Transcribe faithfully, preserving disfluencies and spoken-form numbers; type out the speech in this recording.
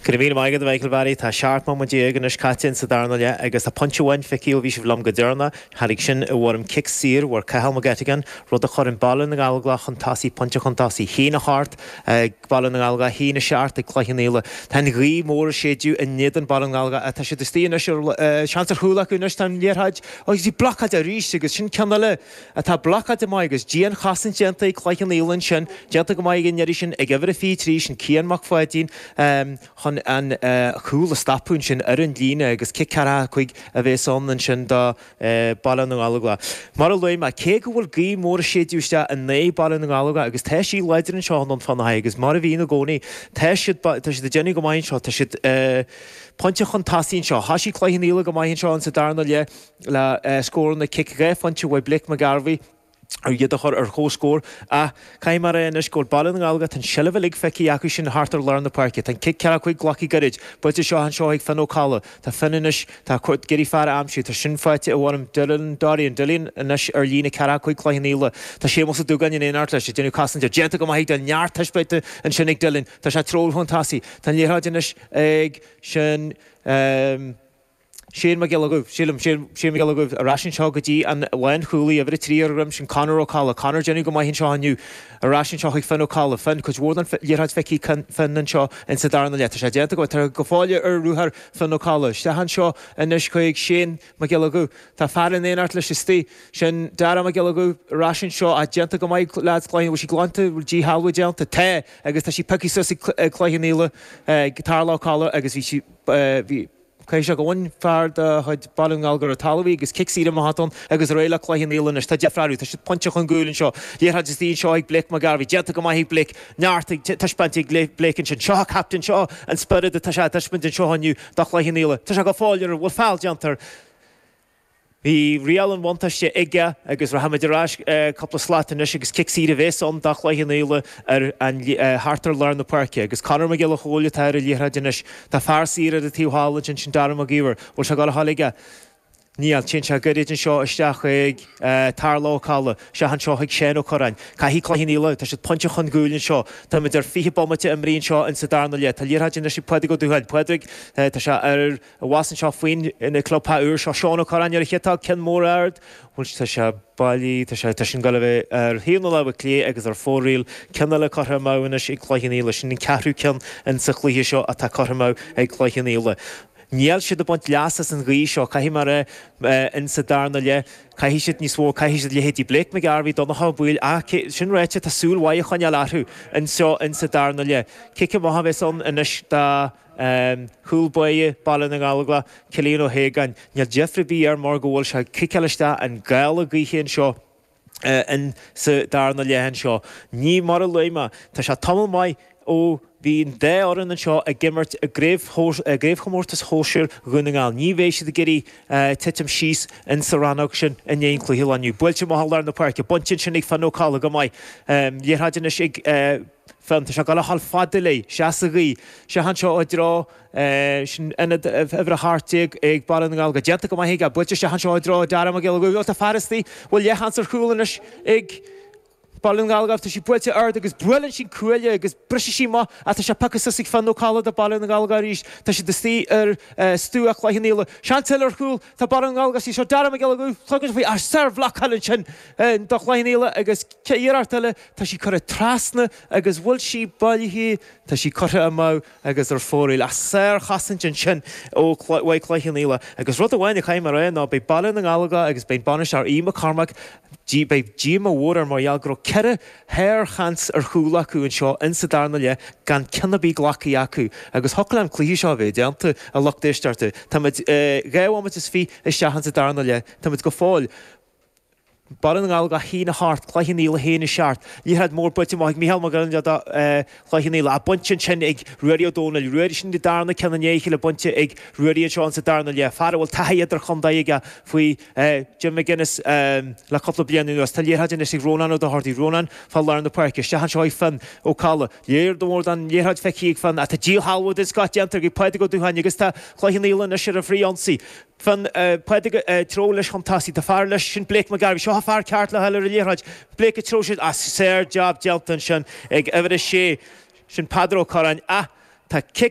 Go raibh míle maith agat, Michael Barry. Tá seacht mbomaite déag anois caite sa darna leath agus tá pointe amháin feicthe ó bhí sibh liom go deireanach. Tháinig sin i bhfoirm cic saor ó Cathal McGettigan, rud a chuireann Baile na nGallóglach chun tosaigh, pointe chun tosaigh, haon a hocht ag Baile na nGallóglach, haon a seacht ag Cloich Cheann Fhaola. Tá an ghaoth mór ag séideadh in éadan Baile na nGallóglach. Tá siad istigh anois ar seans ar chúl acu anois. Tá an liathróid agus í blocáilte arís agus sin ceann eile atá blocáilte maith agus dianchosaint déanta ag Cloich Cheann Fhaola ansin, déanta go maith ag an iarraidh sin ag uimhir a fiche trí, sin Cian Mac Pháidín, chun an chúl a stopadh ansin ar an líne agus cic ceathracha cúig a bheas ann ansin do Baile na nGallóglach. Mar a luaigh mé, cé go bhfuil gaoth mór ag séideadh isteach in aghaidh Baile na nGallóglach agus tá sí láidir anseo in Fanaidh agus mar a bhíonn i gcónaí, tá siad tá siad ag déanamh go maith anseo, tá siad pointe chun tosaigh anseo. Thosaigh Cloich Cheann Fhaola go maith anseo in sa darna leath le scóranna cic dhá phointe uaidh Blake McGarvey ar iad a chur ar chomhscór, ach caithfidh mé a rá anois go bhfuil Baile na nGallóglach, tá an seilbh uilig feicthe acu sin thart ar lár na páirce. Tá an cic ceathracha cúig glactha gairid, buailte seo anseo ag Finn Ó Colla. Tá Finn anois, tá ag iarraidh fear a aimsiú, tá sin faighte i bhfoirm Dylan Dorian, Dylan anois ar líne ceathracha cúig Cloich Cheann Fhaola. Tá Séamus Ó Dúgáin in éineacht leis, ag déanamh cosaint air. Déanta go maith ag Dylan, neart taispeánta ansin ag Dylan. Tá sé treorach chun tosaigh. Tá an liathróid anois ag sin um, Shane Mac Giolla Dhuibh, sílim, Shane Mac Giolla Dhuibh ar ais anseo go dtí an lánchúlaí uimhir a trí ar dhroim sin Conor Ó Colla. Conor déanamh go maith anseo inniu. Ar ais anseo chuig Finn Ó Colla. Finn, cuid mhór den liathróid feicthe Finn anseo in sa darna leath. Tá sé déanta go tá go fóill ar ruathar Finn Ó Colla. Isteach anseo anois chuig Shane Mac Giolla Dhuibh. Tá fear in éineacht leis istigh. Sin Dara Mac Giolla Dhuibh ar ais anseo a déanta go maith leaids Cloich, bhfuil sí glanta, bhfuil díshealbhú déanta. Tá agus tá sí pioctha suas ag Cloich Cheann Fhaola, Tarlach Ó Colla agus bhí sí bhí Caithfidh sé go bhfuil fear de chuid Baile na nGall ar an talamh agus cic saor amach ann agus réidh le Cloich Cheann Fhaola anois. Tá deifreadh, tá siad pointe chun cúil anseo. Liathróid istigh anseo ag Blake McGarvey. Déanta go maith ag Blake. Neart ag taispeáint ag Blake ansin. Seo captain, seo an spiorad atá sé taispeáint anseo inniu do Chloich Cheann Fhaola. Tá sé go fóill ar bhfuil feall déanta. Bhí riail an bhuntáiste aige agus rachaimid ar ais cúpla slat anois agus cic saor a bheas ann do Chloich Cheann Fhaola ar an thart ar lár na páirce agus Conor Mac Giolla Chóill atá ar an liathróid anois. Tá fear saor ar an taobh thall ansin, sin Dara Mac Íomhair. Bhfuil sé ag dul aige? Níl, téann sé gairid anseo isteach ag Tarlach Ó Colla, isteach anseo chuig Seán Ó Curráin. Caithfidh Cloich Cheann Fhaola, tá siad pointe chun cúil anseo. Táimid ar fiche bomaite imeartha anseo in sa darna leath. Tá liathróid anois ag Pádraig Ó Dúcháin. Pádraig, tá sé ar a bhas anseo faoin ina clubtha úr seo Seán Ó Curráin ar a chiotá ceann mór ard. Bhfuil tá sé bailí, tá sé tá sin ag dul a bheith ar thaobh na láimhe clé agus ar fóraoil. Ceann eile curtha amach anois ag Cloich Cheann Fhaola. Sin an ceathrú ceann in sa chluiche seo atá curtha amach ag Cloich Cheann Fhaola. Níl siad ag baint leas as an ghaoth seo, caithfidh mé a rá in sa darna leath, caithfidh siad níos mó, caithfidh siad leithéidí Blake McGarvey, Donncha Ó Baoill, ach sin ráite, tá súil mhaith a choinneáil orthu anseo in sa darna leath. Cic amach a bheas ann anois do chúl báire Baile na nGallóglach, Cillian Ó hAogáin. Níl deifir ar bith air mar go bhfuil sé ag ciceáil isteach an gála gaoithe anseo in sa darna leath anseo. Ní mar a luaigh mé, tá sé tamall maith ó bhí an dá fhoireann anseo ag imirt i gcraobhchomórtas shóisir Dhún na nGall. Ní bheidh siad ag iarraidh titim síos in sa rannóg sin i ndiaidh an cluiche lá inniu. Buailte amach i lár na páirce, bainte ansin ag Finn Ó Colla go maith. Liathróid anois ag Finn, tá sé ag dul a dhul fada léi, isteach sa ghaoth. Isteach anseo i dtreo sin ionad uimhir a hocht déag ag Baile na nGall. Go déanta go maith aige, buailte isteach anseo i dtreo Dara Mac Giolla Dhuibh. Tá fear istigh, bhfuil leathsheans ar chúl anois ag Baile na nGallóglach, tá sí buailte ard agus buaileann sí cuaille agus briseann sí amach ach tá sé pioctha suas ag Finn Ó Colla do Baile na nGallóglach arís. Tá siad istigh ar stua Chloich Cheann Fhaola. Seans eile ar chúl, tá Baile na nGallóglach istigh seo Dara Mac Giolla Dhuibh, tugann faoi ach sárbhlocáil ansin do Chloich Cheann Fhaola agus iarracht eile, tá sí curtha trasna agus bhfuil sí bailithe, tá sí curtha amach agus ar fóraoil. Ach sárchosaint ansin ó uaidh Chloich Cheann Fhaola. Agus rud amháin a chaithfidh mé a rá ná beidh Baile na nGallóglach agus beidh bainisteoir Aodh McCormack, beidh díoma mhór air mar gheall go raibh ceithre shársheans ar chúl acu anseo in sa darna leath gan ceann ar bith glactha acu. Agus thiocfadh an cluiche seo a bheith déanta, a lucht éisteachta. Táimid dhá bhomaite is fiche isteach in sa darna leath. Táimid go fóill. Baile na nGallóglach a haon a hocht, Cloich Cheann Fhaola a haon a seacht. Liathróid mór buailte amach ag Mícheál Mac Giolla do Chloich Cheann Fhaola. Bainte ansin ag Ruairí Ó Dónaill. Ruairí sin an darna ceann i ndiaidh a chéile bainte ag Ruairí anseo in sa darna leath. Fear a bhfuil taithí idirchontae aige faoi Jim McGuinness le cúpla bliain anuas. Tá liathróid anois ag Rónán Ó Dochartaigh. Rónán fá lár na páirce. Isteach anseo ag Finn Ó Colla. Lear mór den liathróid feicthe ag Finn. Tá díshealbhú den scoth déanta ag Pádraig Ó Dúcháin agus tá Cloich Cheann Fhaola anois ar an bhfrithionsaí. Finn Pádraig treo leis chun tosaigh. Tá fear leis sin Blake McGarvey. Seo a fear ceart le fáil ar an liathróid. Blake ag treo sin as sár-jab déanta ansin ag uimhir a sé. Sin Peadar Ó Curráin. Ach tá cic